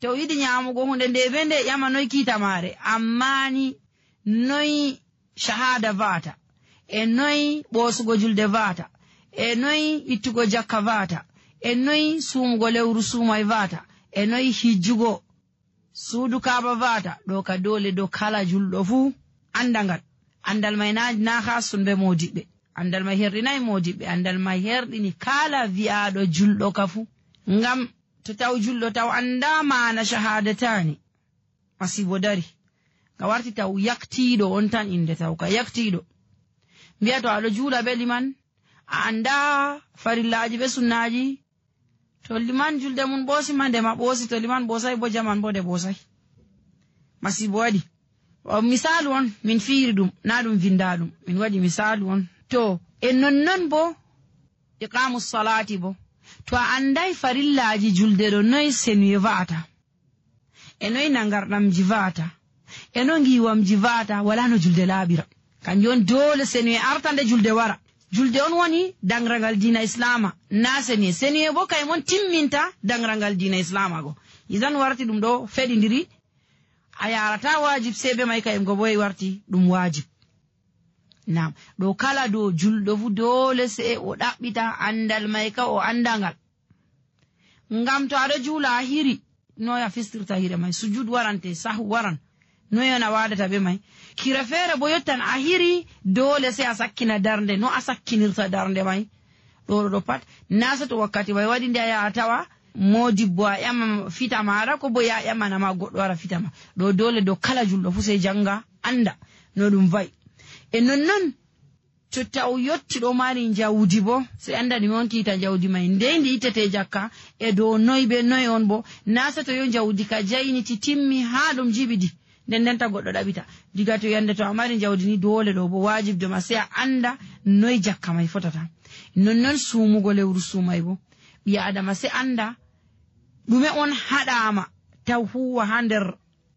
to o yiɗi nyamugo hunde nde be nde ƴama noy kiita maare, amma ni noy shahada vata, e noy ɓoosugo julde vata, e noy ittugo jakka vata, e noy sumugo lewru sumay vata, e noy hijjugo suudu kaaba vata. ɗo ka dole dow kala julɗo fuu andangal. Andal may na ha sunbe modiɓɓe, andal may herɗinayi modiɓɓe, andal may herɗini kala wi'aɗo julɗo ka fuu. Ngam to taw julɗo taw anda mana shahadatani masibo dari, ka warti taw yaktiɗo on tan inde taw ka yaktiɗo. Mbiya to aɗo juula be liman a anda farillaji be sunnaji, to liman julde mun ɓoosi ma ndema ɓoosi, to liman ɓoosay bo jaman bo de ɓoosay. Masibo waɗi. Misalu on min fiiri ɗum, na ɗum vinda ɗum, min waɗi misalu on. To e nonnon bo iqamu salati bo, to a anday farillaji julde ɗo noy senuye va'ata, e noy nangarɗamji va'ata, e no ngiwamji va'ata, wala no julde laaɓira. Kanjum on dole senuye arta nde julde wara. Julde on woni dangragal dina islama, na senuye. Senuye bo kay mon timminta dangragal dina islama go. Izan warti ɗum ɗo feɗidiri, a yarata wajib sebe may kay go boy warti ɗum wajib. Nam ɗo kala do julɗo fu dole se o ɗaɓɓita andal may ka o andangal. Ngam to aɗo juula a hiri, noy a fistirta hire may, sujud warante, sahu waran, noy on a wadata be may. Kira feere bo yottan a hiri dole se a sakkina darnde, no a sakkinirta darnde may. ɗo pat nasa to wakkati may waɗi nde a yaha tawa modibbo a ƴama fita maɗa, ko bo ya ƴamanama goɗɗo wara fitama. ɗo dole dow kala julɗo fu sey janga anda no ɗum vayi. E nonnon to taw yotti ɗo mari jawdi bo sey anda ɗume on kiita jawdi may, nde ndi ittete jakka, e dow noy be noy on bo. Nasa to yo jawdi ka jayniti timmi ha ɗum jibidi, ndenta goɗɗo ɗaɓita. Diga to yande to a mari jawdi ni dole ɗo bo wajibde ma sey a anda noy jakka may fotata. Nonnon sumugo lewru sumay bo ɓi adama sey anda ɗume on haɗama taw huwa ha nder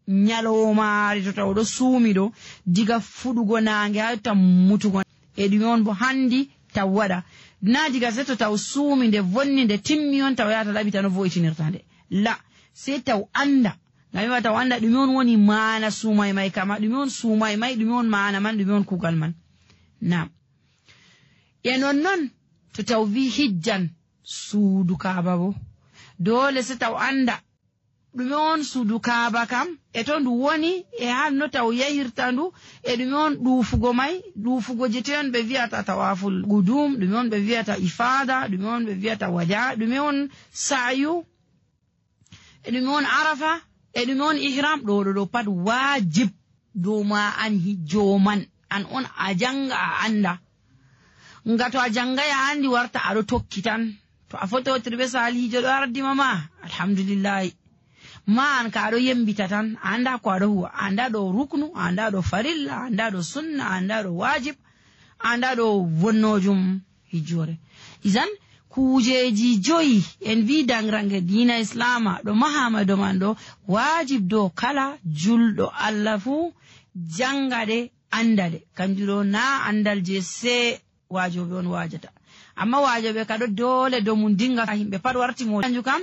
nyalomari to taw ɗo suumi ɗo diga fuɗugo nange ha yotta mutugo, e ɗume on bo handi taw waɗa. Na diga sey to taw suumi nde vonni nde timmi on taw yata ɗaɓita no vo'itinirta nde, la sey taw anda. Ngam taw anda ɗume on woni mana sumay may kama, ɗume on sumay may, ɗume on mana man, ɗume on kugal man. Nam e nonnon to taw wi hijjan suudu kaaba bo dole se taw anda ɗume on suudu kaaba kam, e to ndu woni, e hanno taw yahirta ndu, e ɗume on ɗuufugo may, ɗuufugo je toyon ɓe wiyata tawaful gudum, ɗume on ɓe wiyata ifada, ɗume on ɓe wiyata wada, ɗume on sa'yu, e ɗume on arafa, e ɗume on ihram. ɗo pat wajib dow ma an hijjo man, an on a janga a anda. Nga to a jangay a andi warta aɗo tokki tan, to a fototiri be salihijo ɗo ardima ma alhamdulillahi, ma an ka aɗo yembita tan, a anda ko aɗo huwa, a anda ɗo ruknu, a anda ɗo farilla, a anda ɗo sunna, a anda ɗo wajib, a anda ɗo wonnojum hijjore. Izan kujeji joyi en wi dangrange dina islama ɗo mahama do man ɗo wajib dow kala julɗo Allah fu jangade andade. Kanjum ɗo na andal je se wajoɓe on wajata, amma wajoɓe ka ɗo dole dow mum dinga himɓe pat warti mo kanjum kam